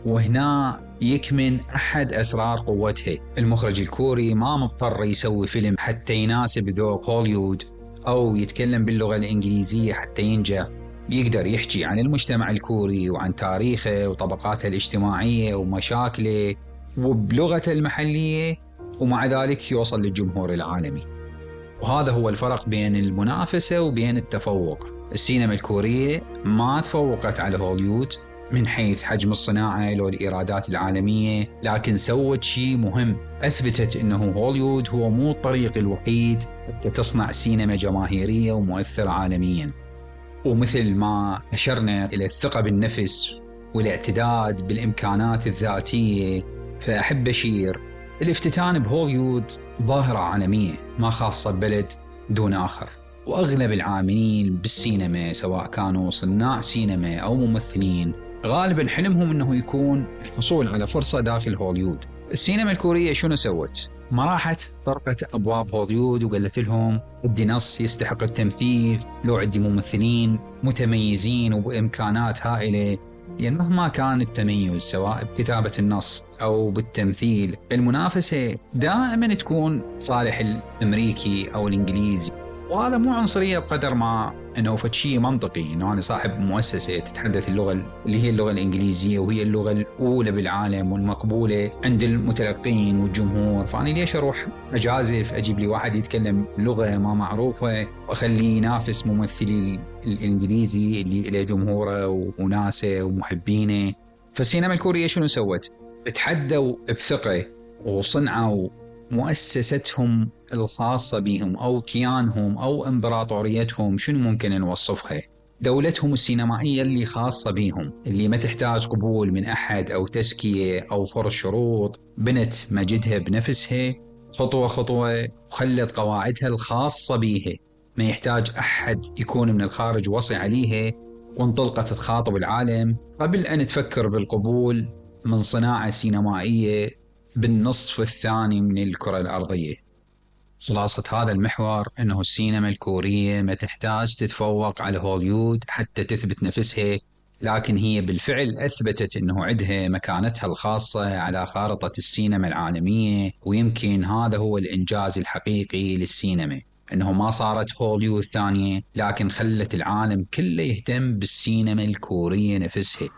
وهنا يكمن أحد أسرار قوتها. المخرج الكوري ما مضطر يسوي فيلم حتى يناسب ذوق هوليوود أو يتكلم باللغة الإنجليزية حتى ينجح. يقدر يحكي عن المجتمع الكوري وعن تاريخه وطبقاته الاجتماعية ومشاكله وبلغته المحلية، ومع ذلك يوصل للجمهور العالمي. وهذا هو الفرق بين المنافسة وبين التفوق. السينما الكورية ما تفوقت على هوليوود من حيث حجم الصناعة لو الإيرادات العالمية، لكن سوت شيء مهم، أثبتت أنه هوليوود هو مو الطريق الوحيد لتصنع سينما جماهيرية ومؤثرة عالميا. ومثل ما أشرنا إلى الثقة بالنفس والاعتداد بالإمكانات الذاتية، فأحب أشير الافتتان بهوليوود ظاهرة عالمية ما خاصة ببلد دون آخر. وأغلب العاملين بالسينما سواء كانوا صناع سينما أو ممثلين غالبا حلمهم أنه يكون الحصول على فرصة داخل هوليوود. السينما الكورية شنو سوت؟ ما راحت طرقت أبواب هوليوود وقالت لهم عندي نص يستحق التمثيل، لو عندي ممثلين متميزين وبإمكانات هائلة. لأن مهما كان التميز سواء بكتابة النص أو بالتمثيل، المنافسة دائما تكون صالح الأمريكي أو الإنجليزي. وهذا مو عنصرية بقدر ما أنه فشي منطقي، أنه أنا صاحب مؤسسة تتحدث اللغة اللي هي اللغة الإنجليزية وهي اللغة الأولى بالعالم والمقبولة عند المتلقين والجمهور، فأنا ليش أروح أجازف أجيب لي واحد يتكلم لغة ما معروفة وأخليه ينافس ممثلي الإنجليزي اللي له جمهوره وناسه ومحبينه. فالسينما الكورية شنو سوت؟ بتحدوا بثقة وصنعوا مؤسستهم الخاصة بهم أو كيانهم أو إمبراطوريتهم، شنو ممكن نوصفها؟ دولتهم السينمائية اللي خاصة بهم، اللي ما تحتاج قبول من أحد أو تزكية أو فرض شروط. بنت مجدها بنفسها خطوة خطوة وخلت قواعدها الخاصة بيها، ما يحتاج أحد يكون من الخارج وصي عليها، وانطلقت تخاطب العالم قبل أن تفكر بالقبول من صناعة سينمائية بالنصف الثاني من الكرة الأرضية. خلاصة هذا المحور أنه السينما الكورية ما تحتاج تتفوق على هوليوود حتى تثبت نفسها، لكن هي بالفعل أثبتت أنه عندها مكانتها الخاصة على خارطة السينما العالمية. ويمكن هذا هو الإنجاز الحقيقي للسينما، أنه ما صارت هوليوود ثانية، لكن خلت العالم كله يهتم بالسينما الكورية نفسها.